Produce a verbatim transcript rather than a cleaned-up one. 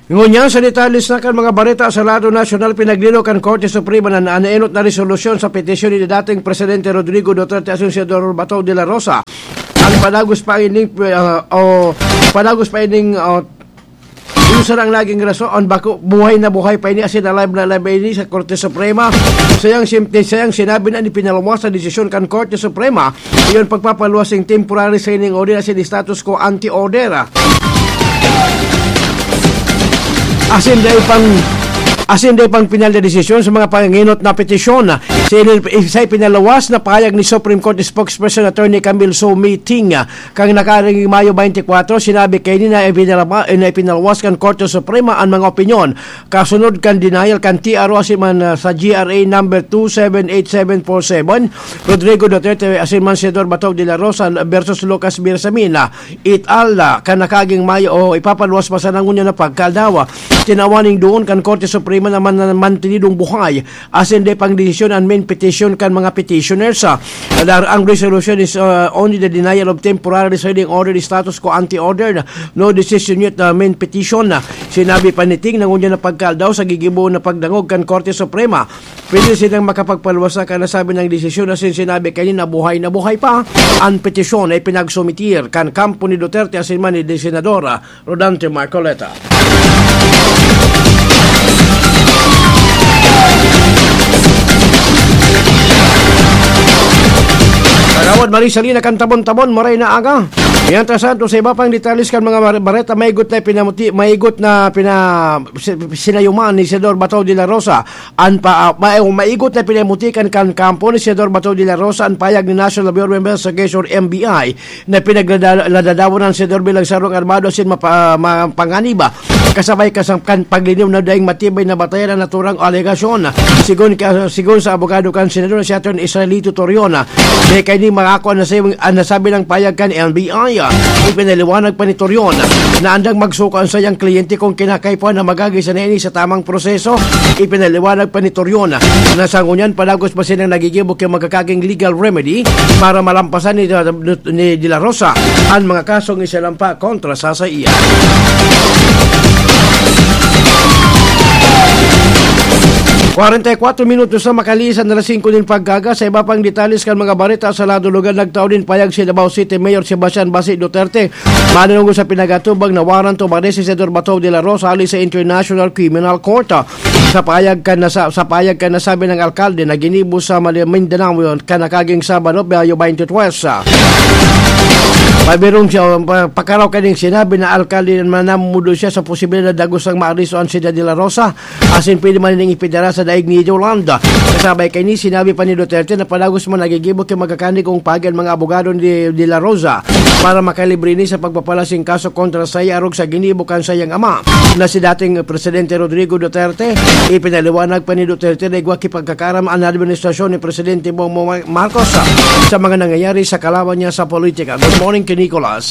Ngunyan, sa detalye sa kan mga bareta sa lado nasyonal, pinaglino kan Korte Suprema na naenot na resolusyon sa petisyon ni dating Presidente Rodrigo Duterte asin Senador Bato de la Rosa. Ang padagos pa ining, ah, o padagos pa ining, ah, yung sarang naging rason, ang bako, buhay na buhay pa ini, asin alive na alive pa ini sa Korte Suprema. Sayang, sim-, sayang sinabi na ni pinaluwas sa desisyon kan Korte Suprema, iyon pagpapaluwas ng temporary signing order asin status quo ante order. Asin dai pang, asin dai pang pinal na desisyon sa mga panginot na petisyon. Sa, sa ipinaluwas na pahayag ni Supreme Court Spokesperson Attorney Camille Somiting, ah, kan nakaaging Mayo twenty-four, sinabi kaini na ipinalaba-, na ipinaluwas kan Korte Suprema an mga opinyon kasunod kan denial kan T R O asin man, ah, sa G R A number two seven eight seven four seven, Rodrigo Duterte asin man Senador Bato de la Rosa versus Lucas Bersamin, ah, et al, ah, kan nakaaging Mayo o ipapaluwas pa sana ngunyan na pagkaaldaw. Tinawan ning duon kan Korte Suprema na man-, mantenidong buhay asin dai pang desisyon an main petition kan mga petitioners, ah. Dar-, ang resolution is, ah, only the denial of temporary restraining order status quo ante order, no decision yet, ah, main petition. Sinabi pa ni Ting na ngunyan na pagkaaldaw sa gigibo na pagdangog kan Korte Suprema, pwede silang makapagpaluwas sa kanasabi ng desisyon asin sinabi kaini na buhay na buhay pa an petisyon na ipinagsumitir kan kampo ni Duterte asin man ni Senador, ah, Rodante Marcoleta. Kagawad Marie Salina kan Tabon-Tabon, maray na aga. Mientras tanto, sa iba pang detalles kan mga bar-, bareta, maigot na pinamuti, maigot na pina-, si-, sinayuman ni Senador Bato de la Rosa. An pa, ah, ma-, maigot na pinamutikan kan kampo ni Senador Bato de la Rosa an payag ni National Bureau of Investigation, N B I, na pinagdada-, nadadawanan si Dorby Lagsarong Armado asin mapa-, mapanganiba, kasabay kasang kan paglinaw na daing matibay na batayan ang naturang alegasyon. Sigon ka, sigon sa abogado kan Senador na si Attorney Israelito Torion, na kaini makako ang nasabing, ang nasabing payag kan N B I. Ipinaliwanag pa ni Torion na andang magsuko ang sayang kliyente kung kinakaipuhan na magagi sa nini sa tamang proseso. Ipinaliwanag pa ni Torion na sa ngunyan, padagos pa silang nagigibo ki magkakaging legal remedy para malampasan ni, ni De La Rosa an mga kasong isinampa kontra sa saiya. Kwarenta y kwatro minutos na makalisan na alas singko nin pagkaga. Sa iba pang detalles kan mga bareta sa lado lugar, nagtao nin payag si Davao City Mayor Sebastian Basi Duterte manungo sa pinagatubang na warrant to arrest si Senador Bato de la Rosa hali sa International Criminal Court. Sa payag kan nasa-, sa payag kan nasabi ng alkalde na ginibo sa Mali-, Mindanao kan nakaging Sabado, Mayo twenty-three. Pabirong siya, pa-, pakaraw kaning sinabi na alkalde na manamudo siya sa posibilidad na gustong maaresto an Senador de la Rosa. Asin pwede man ning ipidara sa daig ni Yolanda. Kasabay kaini, sinabi pa ni Duterte na padagos man nagigibo ki magkakanig kung pagi an mga abogado ni De La Rosa para makalibre ini sa pagpapalasing kaso kontra sa arog sa ginibo kan sayang ama na si dating Presidente Rodrigo Duterte. Ipinaliwanag pa ni Duterte na igwa ki pagkakaram an administrasyon ni Presidente Bongbong Marcos sa mga nangyayari sa kalaban niya sa politika. Good morning ki Nicolas.